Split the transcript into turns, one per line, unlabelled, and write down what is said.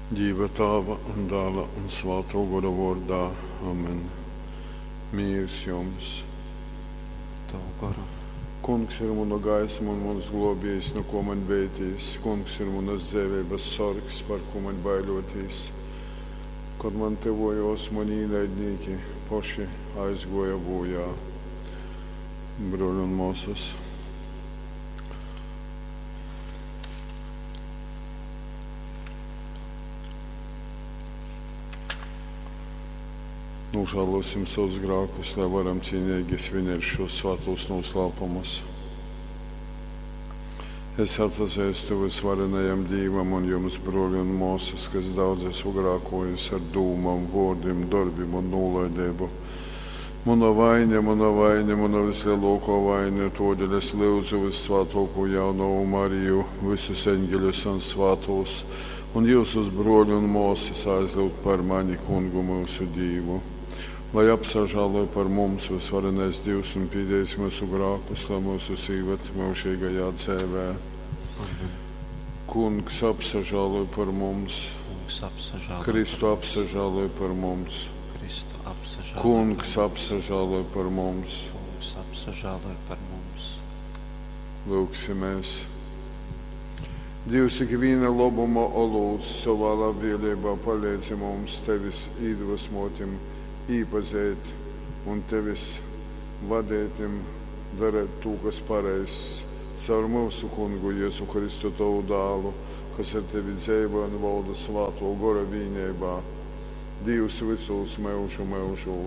Dīva Tāva un Dāla un Svātō Gora vōrdā. Amen. Mīrs jums!
Tavu goru.
Kungs ir muna gaisma un muns glōbējs, nu ko maņ beitīs. Kungs ir munas dzeiveibas sorgs, par ko maņ baiļotīs. Kod man tyvōjōs muni īnaidnīki, poši aizgōja bojā. Brōļi un mōsas. Nožēlosim savus grēkus, lai varam cienīgi svinēt šos svētos noslēpumus. Es atsazīstu visvarenajam Dievam un jums, brōļi un māsas, kas daudz esmu grēkojis ar dūmām, vārdiem, darbiem un nolaidību. Mana vaina, mana vaina, mana vislielākā vaina, todēļ es lūdzu vissvētāko jaunavu Mariju, visus eņģeļus un svētos, un jūsus brōļu un māsas aizlūgt par mani, kungu mūsu Dievu. Lai apsažāloj par mums visvarenais Dievs un pīdējis mūsu grākus, lai mūsu sīvat mūžīgajā dzēvē.
Amen.
Kungs apsažāloj par mums,
Kungs apsažāloj
Kristu
par mums.
apsažāloj par mums,
Kristu apsažāloj
Kungs
par mums.
apsažāloj par mums.
Kungs apsažāloj par mums.
Lūksimies. Dievs ikviena labuma olūts savā labvēlībā palīdzi mums tevis iedvesmotim iepazīt un tevis vadītim darīt to, kas pareizs. Caur mūsu kungu Jēzu Kristu tavu dālu, kas ar tevi dzīvo un valda svāto gora vienībā. Dievs visos mūžu mūžos.